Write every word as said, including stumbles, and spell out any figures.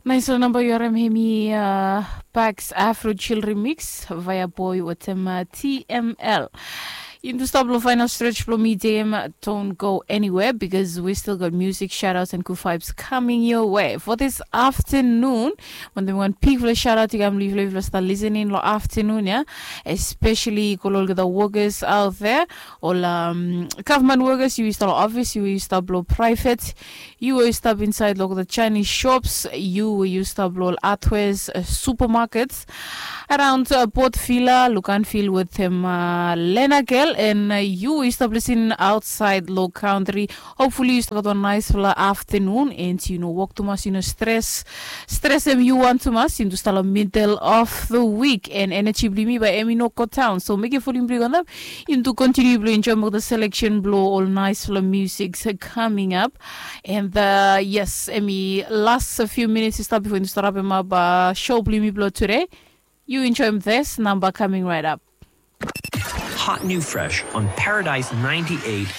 Nais long namba yu harim hemi, uh, Pax Afro Chill Remix via Boy wetem, uh, T M L. Yumi tu stap long final stretch blong mi dem. Don't go anywhere because we still got music, shoutouts and good vibes coming your way for this afternoon. Wantaim wan bigfala shoutout i kam long yufala, yufala stap listening long afternoon ya, especially ko long olgeta workers out there, ol, um, government workers, yu i stap long office, yu i stap long private, yu i stap inside long the Chinese shops, yu i stap long hardwares, uh, supermarkets around, uh, Port Vila, Luganville wetem, uh, Lenagel, and, uh, yu i stap listening outside long country. Hopefully yu stap gat wan naisfala afternoon and yu no wok tumas, yu no stres, stresem yu wan tumas. Yumi tu stap long middle of the week and energy blong yumi bae hemi no go down. So mekem volume blong yu go antap. Yumi tu continue blong enjoy moa the selection blong ol naisfala music coming up. And, uh, yes, hemi last few minutes i stap bifo yumi tu stap rapem ap, uh, show blong yumi blong today. Yu enjoyem this number coming right up. Hot new fresh on Paradise ninety-eight